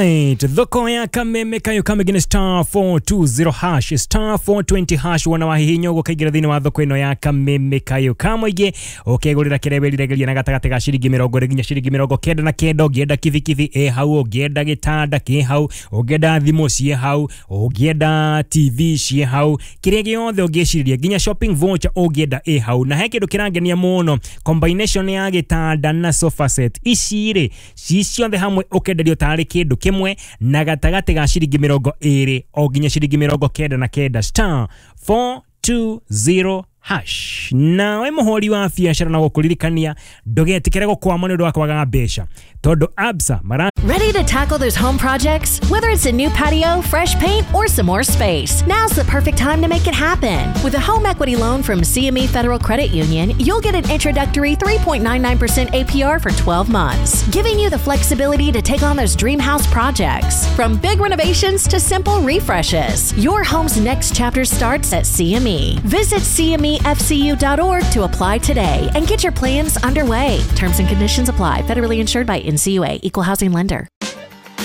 Alright, thoko ya kameme kayo kamegine star 420 hash star 420 hash wona wahihinya uguo kaingĩra thĩinĩ wa thoko ĩno ya kameme kayo kamũingĩ ũkegũrĩra kĩrĩa wĩriragĩria na gatagatĩ ga ciringi 20 nginya ciringi 99. Ũngĩenda kibikibi ĩ hau, ũngĩenda gĩtanda kĩ hau, ũngĩenda thimũ ciĩ hau, ũngĩenda TV ciĩ hau, kĩrĩa gĩothe ũngĩciria nginya shopping voucher ũngĩenda ĩ hau. Na he kĩndũ kĩrangenia mũno, combination ya gĩtanda na sofa set ici rĩ ci ciothe hamwe ũkenderio tarĩ kĩndũ kĩmwe na gatagatĩ ga ciringi 20 o nginya ciringi 99 star 420 hash. Nawe mũhũri wa biacara na gũkũririkania ndũgetĩkĩre gũkwama nĩ ũndũ wa kwaga mbeca tondũ Absa mara Ready to tackle those home projects? Whether it's a new patio, fresh paint, or some more space, now's the perfect time to make it happen. With a home equity loan from CME Federal Credit Union, you'll get an introductory 3.99% APR for 12 months, giving you the flexibility to take on those dream house projects. From big renovations to simple refreshes, your home's next chapter starts at CME. Visit cmefcu.org to apply today and get your plans underway. Terms and conditions apply. Federally insured by NCUA, Equal Housing Lender.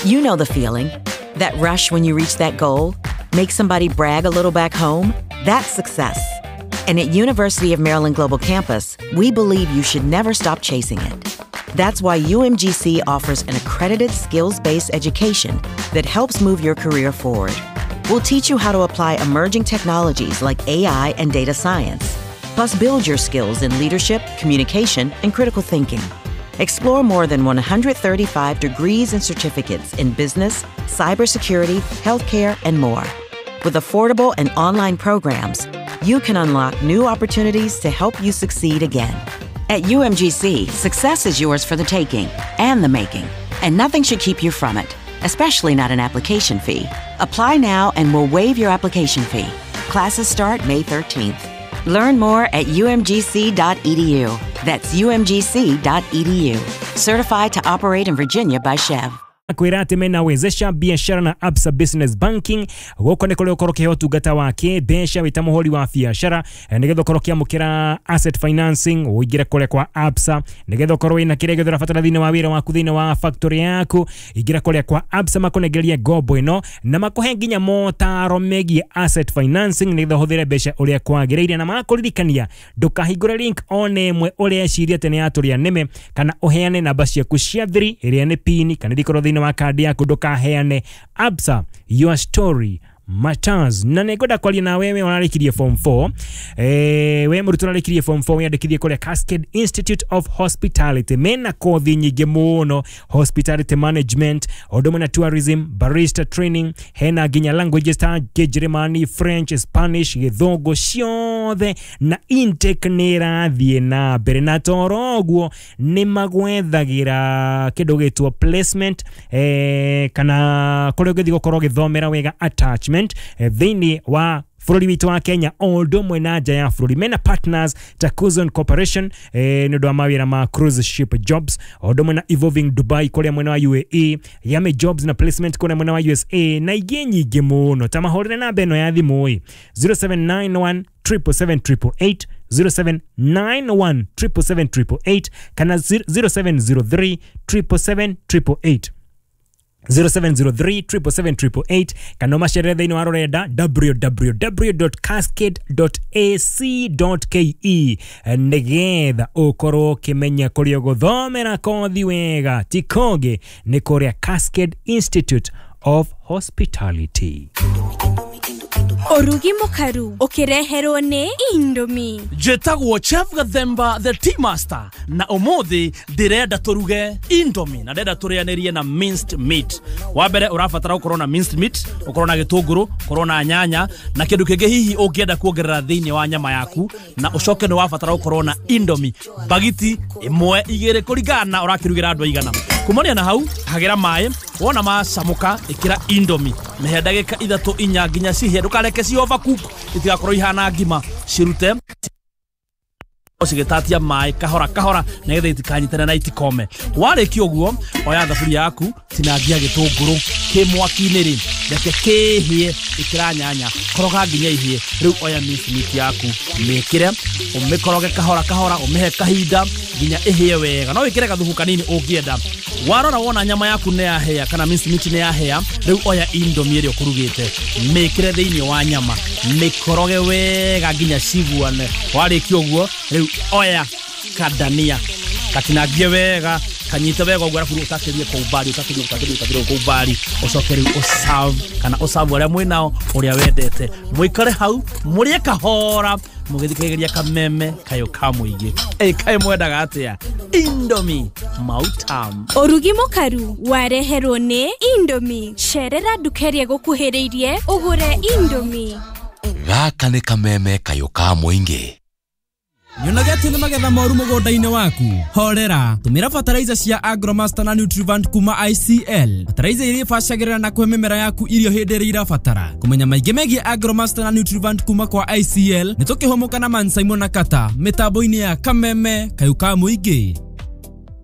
You know the feeling. That rush when you reach that goal, make somebody brag a little back home, that's success. And at University of Maryland Global Campus, we believe you should never stop chasing it. That's why UMGC offers an accredited skills-based education that helps move your career forward. We'll teach you how to apply emerging technologies like AI and data science, plus build your skills in leadership, communication, and critical thinking. Explore more than 135 degrees and certificates in business, cybersecurity, healthcare, and more. With affordable and online programs, you can unlock new opportunities to help you succeed again. At UMGC, success is yours for the taking and the making, and nothing should keep you from it, especially not an application fee. Apply now and we'll waive your application fee. Classes start May 13th. Learn more at umgc.edu. That's umgc.edu. Certified to operate in Virginia by Chev. Kwĩra atĩ mena wezesha biashara na Absa Business Banking gũkũ nĩ kũrĩa ũkorwo ũkĩheo ũtungata wa kĩmbeca wĩ ta mũhũri wa biacara, nĩgetha ũkorwo ũkĩamũkĩra asset financing ũingĩre kũrĩa kwa Absa, nĩgetha ũkorwo wĩna kĩrĩa gĩothe ũrabatara thĩinĩ wa wĩra waku thĩinĩ wa factory yaku, ingĩra kũrĩa kwa Absa makũnengerie ngombo ĩno na makũhe nginya motaro megiĩ asset financing nĩgetha ũhũthĩre mbeca ũrĩa kwagĩrĩire, na makũririkania ndũkahingũre link ona ĩmwe ũreciria atĩ nĩ ya tũrĩa nĩme kana ũheane namba ciaku cia thiri ĩrĩa nĩ pin kana ĩrĩkorwo thĩinĩ wa kandi yaku ndũkaheane. Absa, your story matters. Na nĩngwenda kwaria na wewe ũrarĩkirie form 4, we mũrutwo ũrarĩkirie form 4 wĩyandĩkithie kũrĩa Cascade Institute of Hospitality. Mena kothi nyingĩ mũno, hospitality management, ũndũ ũmwe na tourism, barista training, hena nginya languages ta Kĩnjĩrĩmani, French, Spanish, Gĩthũngũ ciothe, na intake nĩ ĩrathiĩ na mbere. Na toro ũguo nĩ magwethagĩra kĩndũ gĩtwo placement, kana kũrĩa ũngĩthiĩ gũkorwo ũgĩthomera wega attachment thĩinĩ wa bũrũri witũ wa Kenya o ũndũ ũmwe na nja ya bũrũri. Mena partners ta Kuzon Corporation nĩ ũndũ wa mawĩra ma cruise ship jobs, o ũndũ ũmwe na Evolving Dubai kũrĩa mwena wa UAE, Yame Jobs na placement kũrĩa mwena wa USA na ingĩ nyingĩ mũno. Ta mahũrĩre namba ĩno ya thimũ ĩ 0791 777 888, 0791 777 888 kana 0703 777 888, 0703 777 888 kana ũmacerere thĩinĩ wa rũrenda www.cascade.ac.ke nĩgetha ũkorwo ũkĩmenya kũrĩa ũgũthomera kothi wega. Ti kũngĩ nĩ kũrĩa Cascade Institute of Hospitality. Ũrugi mũkaru ũkĩreherwo nĩ Indomie. Njĩtagwo Chef Gathemba the Tea Master, na ũmũthĩ ndĩrenda tũruge Indomie na ndĩrenda tũrĩanĩrie na minced meat. Wa mbere ũrabatara ũkorwo na minced meat, ũkorwo na gĩtũngũrũ, ũkorwo na nyanya na kĩndũ kĩngĩ hihi ũngĩenda kuongerera thĩinĩ wa nyama yaku, na ũcoke nĩ wabatara ũkorwo na Indomie bagiti 1 2 kũringana na ũrakĩrugĩra andũ aigana. Kumania na hau hagĩra maĩ, wona macamũka ĩkĩra Indomie, mĩhe ndagĩka 3 4 nginya cihĩe, ndũkareke ci overcook itigakorwo ihana ngima, cirute cigĩtatia maĩ kahora kahora nĩgetha itikanyitane na itikome. Warĩkia ũguo oya thaburia yaku, tinangia gĩtũngũrũ kĩ mwaki-inĩ rĩ, reke kĩhĩe, ĩkĩra nyanya, koroga nginya ihĩe. Rĩu oya minced meat yaku mĩkĩre, ũmĩkoroge kahora kahora, ũmĩhe kahinda. nginya ĩhĩe wega. No wĩkĩre gathubu kanini ũngĩenda. Warora wona nyama yaku nĩ yahĩa kana minced meat nĩ yahĩa, rĩu oya Indomie ĩrĩa ũkũrugĩte, mĩkĩre thĩinĩ wa nyama, mĩkoroge wega nginya ciguane. Warĩkia ũguo, rĩu oya kadania katinangie wega, kanyite wega ũguo, arabu ũtakĩrie kwa umbali, ũtakĩrie ũtakĩrie ũtakĩrie kwa umbali, ũcoke rĩu ũserve kana ũserve arĩa mwĩ nao ũrĩa wendete. Mũikare hau mũrĩe kahora mũgĩthikagĩrĩria kameme kayũ ka mũingĩ. Ĩ kaĩ mwendaga atĩa? Indomie mautam. Ũrugi mũkaru wareherwo nĩ Indomie. Cerera nduka ĩrĩa ĩgũkuhĩrĩirie ũgũre Indomie. Gaka nĩ kameme kayũ ka mũingĩ. Nyonaga atĩ nĩ magetha moru mũgũnda-inĩ waku. Horera, tũmĩra fertilizer cia Agromaster na Nutrivant kuma ICL. Fertilizer iria ibacagĩrĩra na kũhe mĩmera yaku irio hĩndĩ ĩrĩa irabatara. Kũmenya maingĩ megiĩ Agromaster na Nutrivant kuma kwa ICL nĩ tũkĩhũmũka na Man Simon na Kata mĩtambo-inĩ ya Kameme kayũ ka mũingĩ.